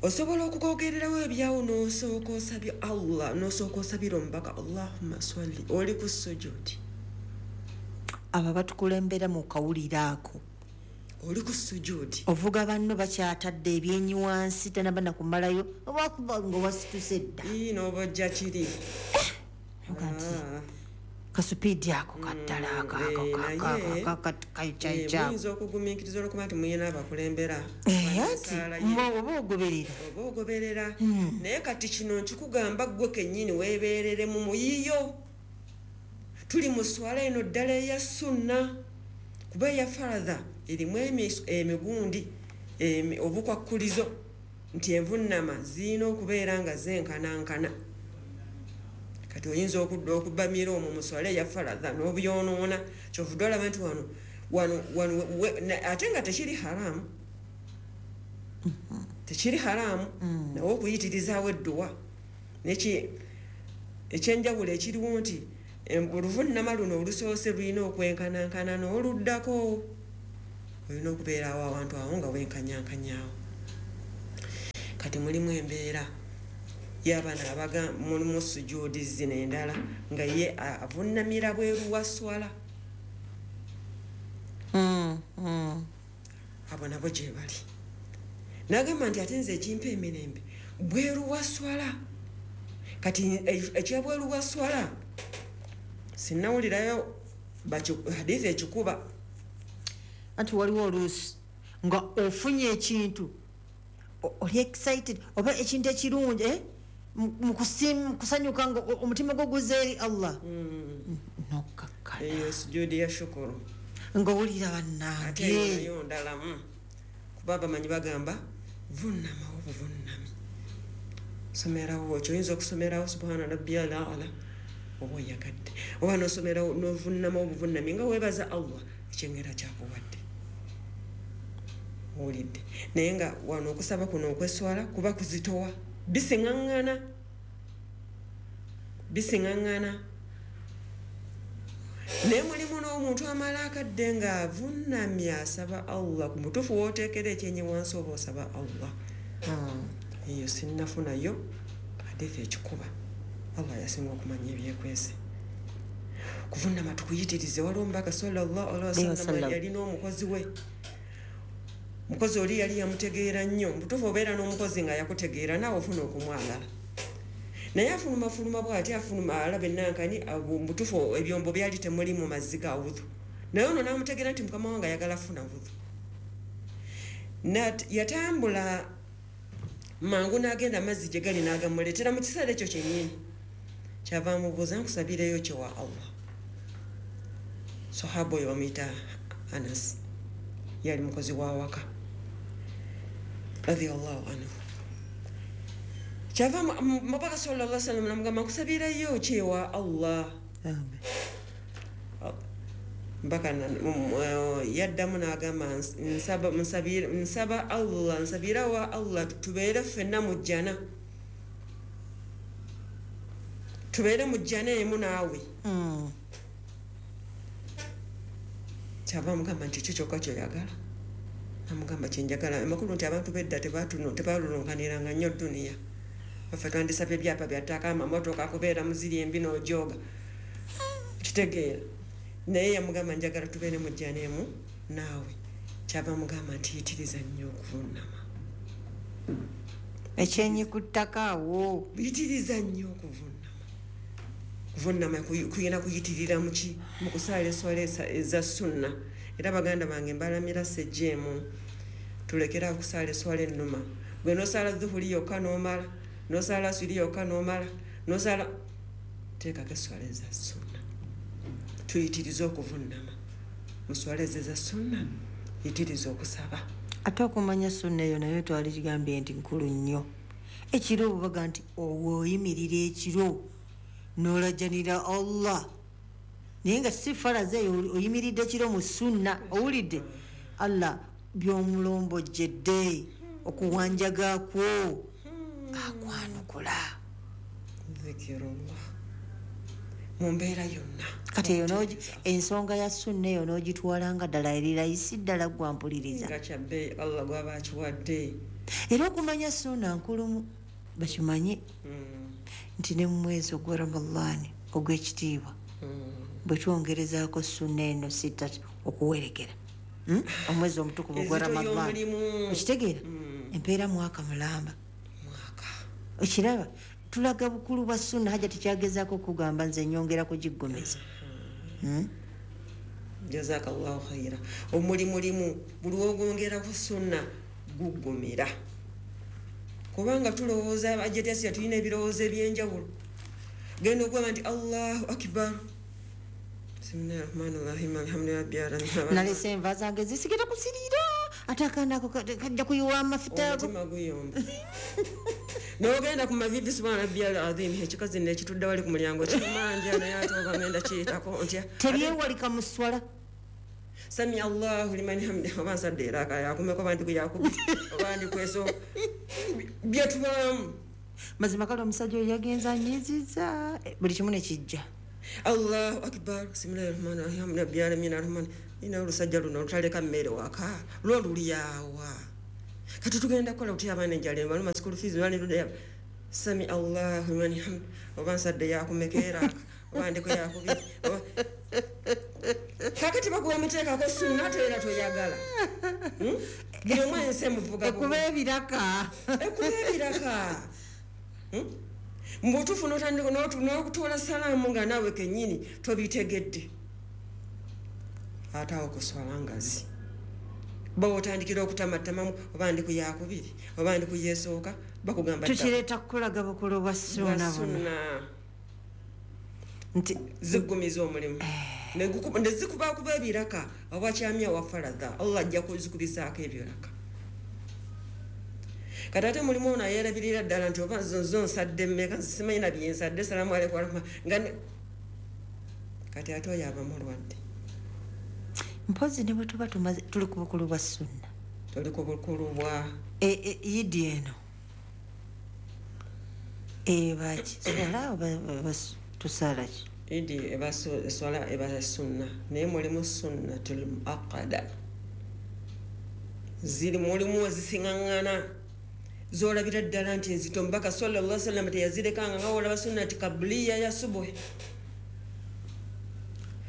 Osobola okukogererawo ebyawo n'osooka osabye Allah, n'osooka osabira omubaka Allahumma swalli, oli ku sujudi. Abo batukulembera mu kawuliro ako, oli ku sujudi, ovuga banno bakyatadde ebyenyi wansi tanaba nakumalayo oba nga wasituse dda n'obojja kiri kasupidi ako kaddala muyinza okugumiikiriza olwokuba nti muyina abakulembera oba ogoberera oba ogoberera. Naye kati kino nkikugamba ggwe kennyini weebeerere mu muyiyo. Tuli mu swala eno ddala eya sunna, kuba eya faradha erimu emigundi obukwakkulizo nti envunnama zirina okubeera nga zenkanankana. Kati oyinza okudda okubamira omwo mu swala eya faradha n'obyonoona, kyovudde olaba nti wano wano wano ate nga tekiri haramu, tekiri haramu nawe okuyitirizaawo edduwa. Neki ekyenjawulo ekiriwo nti oluvunnama luno olusoose lulina okwenkanankana n'oluddako, olina okubeerawo awantu awo nga wenkanyankanyaawo. Kati mulimu embeera y'abaana abaga mulimu sujuudi zino endala nga ye avunnamira bweru wa swala. Abo nabo gye bali. Nagamba nti ate nze ekimpa emirembe bweru wa swala. Kati ekyabweru wa swala sinnawulirayo hadithi ekikuba. Anti waliwo oluusi nga ofunye ekintu oli excited oba ekintu ekirungi mu kusanyuka nga omutima gwo guzza eri Allah, nokkakkana. Eyo sujuudi ya shukuru ng'owulira bannange. Ate eyo nayo ndalamu, kuba abamanyi bagamba vunnamawo buvunnami, somerawo ekyo oyinza okusomerawo subhana rabbiyal a'la oba oyagadde, oba nosomerawo novunnamawo obuvunnami nga weebaza Allah ekyengera kyakuwadde owulidde. Naye nga wano okusaba kuno okweswala kuba kuzitowa, bisiŋŋaŋŋana bisiŋŋaŋŋana. Naye mulimu n'omuntu amala akadde ng'avunnamye asaba Allah, ku mutuufu w'oteekera ekyenyi wansi oba osaba Allah. Eyo sinnafunayo hadithi ekikuba. Allah yasinga okumanya ebyekwese. Kuvunnama tukuyitirize. Waliwo omubaka sallallahu alaihi wasallam yalina omukozi we, omukozi oli yali yamutegeera nnyo. Mutuufu obeera n'omukozi nga yakutegeera naawe ofuna okumwagala, naye afulumafuluma bw'ati afuluma alaba ennankani, mutuufu ebyombo byali temuli mu mazzi ga wudhu, naye ono n'amutegeera nti mukama wange ayagala afuna wudhu. Yatambula mangu n'agenda amazzi gye gali n'agamuleetera mu kiseera ekyo kyennyini. Kyava amubuuza, nkusabireyo kye wa Allah. Sahaba oyo bamuyita Anas, yali mukozi wa waka radiyallahu anhu. Kyava mubaka sallallahu alaihi wasallam namugamba nkusabirayo ki wa Allah. Mbaka yaddamu n'agamba nsaba Allah, nsabira wa Allah tubeere ffenna mu jjana, tubeere mu jjana emu naawe. Kyava amugamba nti ekyo kyokka kyoyagala? Namugamba kyenjagala. Amakulu nti abantu bedda tebalulunkaniranga nnyo dduniya. Baffe twandisabye ebyapa bya ttaka, amamotoka, kubeera muziri embi n'ojooga, kitegeera. Naye yamugamba njagala tubeere mu jjana emu naawe. Kyava amugamba nti yitiriza nnyo okuvunnama. Ekyenyi ku ttaka awo. Yitiriza nnyo okuvunnama. Kuvunnama kuyina kuyitirira muki mu kusaala eswala eza sunna. Era baganda bange mbalamira sejjeemu, tulekera okusaala eswala ennuma. Gwe n'osaala dhuhuri yokka n'omala, n'osaala aswiri yokka n'omala, n'osaala, teekako eswala eza sunna. Tuyitirize okuvunnama mu swala ezo eza sunna, yitiriza okusaba. Ate okumanya sunna eyo nayo twali kigambye nti nkulu nnyo. Ekiro obubaga nti oyimirira ekiro n'olajanira Allah, naye nga si faraza eyo, oyimiridde kiro mu sunna, owulidde Allah by'omulombojjedde okuwanjagakwo akwanukula. Zikirullah mu mbeera yonna. Kati eyo ensonga ya sunna eyo n'ogitwala nga ddala eri layisi ddala gwampuliriza nga kyabbeeyi Allah gw'aba akiwadde. Era okumanya sunna nkulumu bakimanye nti ne mu mwezi ogwa Ramadaani ogw'ekitiibwa bwe twongerezaako sunna eno sita okuwerekera omwezi omutukuvu ogwa Ramadaani, okitegeera empeera mwaka mulamba. Okiraba tulaga bukulu bwa sunna. Hajja tekyagezaako okugamba nze nyongera kugiggumeza. Jazakallahu khaira. Omulimu limu buli wogongera ku sunna guggumira, kubanga tulowooza ajetasi tulina ebirowoozo ebyenjawulo. Genda okugamba nti Allahu akbar, bismillahirrahmanirrahim, alhamdulillahi rabbil alamin, nalese enva zange zisigenda kusirira, ate akaana ako kajja kuyiwa amafuta ago, omutima guyomba. N'ogenda ku mavivi subhana rabbiyal azim, ekikazi nekitudde wali ku mulyango kimanja, naye ate oba ngenda kiyitako ntya, tebyewalika mu swala. Sami Allahu liman hamdihi, oba nsadde era yakumeko oba ndi kuyakubi oba ndi kweso byetubaamu. Mazima kale omusajja oyo yagenza anyiziza buli kimu ne kijja. Allahu akbar, bismillahirrahmanirrahim, rabbil alamin arrahman. Ina olusajja luno olutaleka mmere waka lwo lulyawa. Kati tugenda kukola otya abaana enjala ebaluma, school fees bali sami Allahu liman hamd, oba nsadde yakumekeera oba ndeko yakubiri. Kakati bakuwa amateekako sunna ate era toyagala. Buli omu ensi emuvuga ekuba ebiraka. Ekuba ebiraka. Mu butuufu n'otandika n'okutoola salaamu nga naawe kennyini tobitegedde. Ate awo kuswala ngazi. Bwe otandikira okutamattamamu oba ndi ku yakubiri oba ndi ku yeesooka bakugamba tukireeta kukulaga bukulu bwa sunna buno. Nti ziggumiza omulimu. Ne zikubakuba ebiraka awakyamya wa faradha Allah ajja kuzikubisaako ebiraka. Kati ate mulimu ono ayeerabirira ddala nti oba zo nsadde mmeka simanyi na bye nsadde, salaamu alaikum warahmatullahi nga kati ate oyo aba mulwadde. Mpozi ne bwe tuba tumaze tuli ku bukulu bwa sunna. Tuli ku bukulu bwa Idi eno ebaki swala oba tusaala ki? Idi eba swala eba sunna, naye mulimu sunnatul muaqqada. Ziri mulimu ezisiŋŋaŋŋana z'olabira ddala nti enzito Omubaka sallallahu alaihi wasallam teyazirekanga nga olaba sunnati kabuliya ya subuhi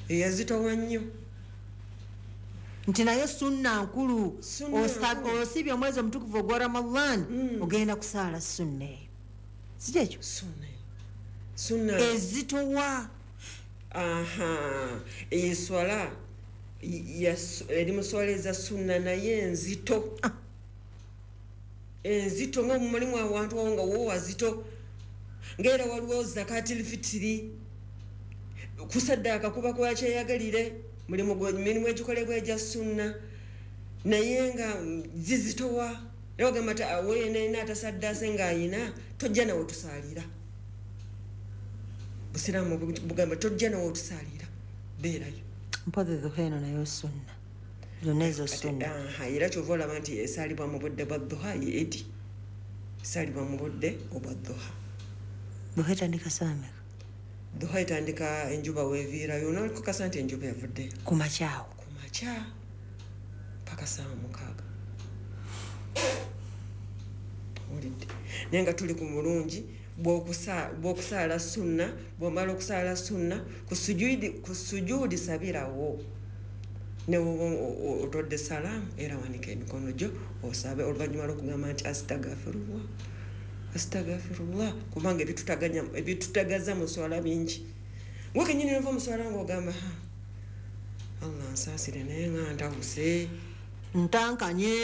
eyazitowa nnyo. Nti naye sunna nkulu, osibye omwezi omutukuvu ogwa Ramadan ogenda kusaala sunna eyo, si kyekyo? Sunna ezitowa. Aha, eswala eri mu swala eza sunna naye enzito. Enzito nga mulimu awantu awo nga wo wazito, ng'era waliwo zakatil fitiri, kusaddaaka kuba kwakyeyagalire, mulimu egikolebwa egya sunna naye nga zizitowa. Era ogamba nti aweena atasaddaase ng'ayina tojja nawe tusaalira. Busiraamu bugamba tojja nawe otusaalira, beerayo. Mpozi dhuha eno nayo sunna, zonna ezo sunna. Era kyova olaba nti esaalibwa mu budde bwa dhuha ye Idi, esaalibwa mu budde obwa dhuha. Dhuha etandika ssaawa mmeka? Dhuha etandika enjuba weeviirayo, n'okukakasa nti enjuba evuddeyo. Ku makya awo? Ku makya paka 6:00. Owulidde? Naye nga tuli ku mulungi bw'okusaala sunna, bw'omala okusaala sunna ku sujuudi sabirawo. Ne bw'oba otodde salaamu era wanika emikono gyo osabe oluvannyuma lw'okugamba nti astagfirullah, astagfirullah, kubanga ebitutagaza mu swala bingi. Gwe kennyini n'ova mu swala ng'ogamba Allah nsaasire naye nga ntawuse, ntankanye,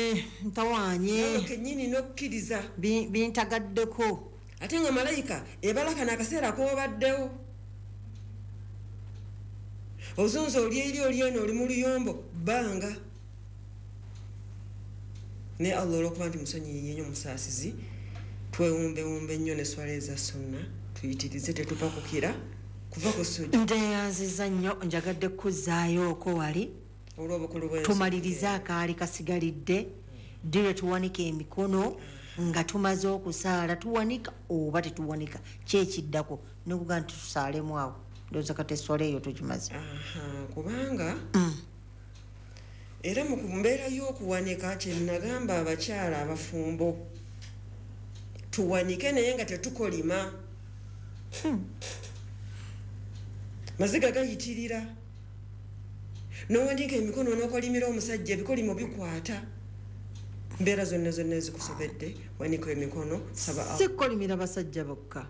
ntawaanye. Nawe kennyini n'okkiriza bintagaddeko. Ate nga malayika ebalaka n'akaseera k'obaddewo. Ozunza oli eri oli eno oli mu luyombo bbanga. Naye Allah olw'okuba nti musonyiyi nnyo musaasizi, twewumbewumbe nnyo ne swala eza sunna tuyitirize tetuva kukira kuva ku sujjudu. Nteyanziza nnyo, njagadde kuzzaayo okwo wali olw'obukulu bw'ensi. Tumalirize akaali kasigalidde, ddi lwe tuwanika emikono nga tumaze okusaala, tuwanika oba tetuwanika, ki ekiddako nekuga nti tusaalemu awo. Ndowooza kati eswala eyo tugimaze. Kubanga era mu mbeera y'okuwanika kye nagamba abakyala abafumbo, tuwanike naye nga tetukolima. Maziga gayitirira, n'owandiika emikono n'okolimira omusajja, ebikolimo bikwata. Mbeera zonna zonna ezikusobedde, wanika emikono, saba Allah. Si kukolimira basajja bokka,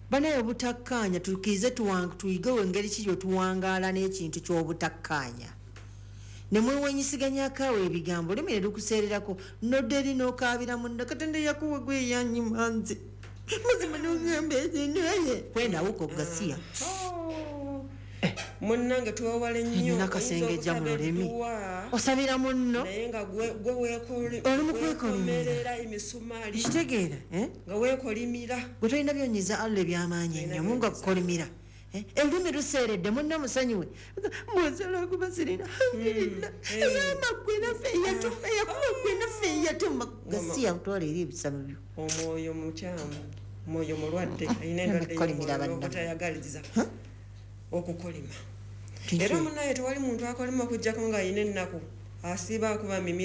banaye obutakkaanya tukkirize tuyigewo engeri ki gye tuwangaala n'ekintu ky'obutakkaanya. Ne mwewenyisiganyako awo ebigambo, olulimi ne lukuseererako, nodda eri n'okaabira munno, Katonda yakuwa gwe yanyima nze. Mazima n'ogamba naye kwendawuka okugasiya. Munnange twewale nnyo, Nina akasengejja mu lulimi. Osabira munno. Naye nga gwe Oli mu kwekolimira. weekomerera emisumaali. Kitegeera, eh? Nga weekolimira. Gwe tolina byonyiza Allah eby'amaanyi ennyo, Mungu akukolimira. Olulimi luseeredde, munno musonyiwe. Mbw'osobola okuba sirina, alhamdulillah. Eyamba ggwe naffe eyatuma, eyakuba ggwe naffe eyatuma. Gasiya kutwala eri ebisabo byo. Omwoyo mukyamu. Mwoyo mulwadde, alina endwadde Okukolimira y'omwoyo bannammwe. n'obutayagaliza okukolima. Kiki? Era munaye tewali muntu akolima okugjako ng'alina ennaku, asiiba akuba mimiro.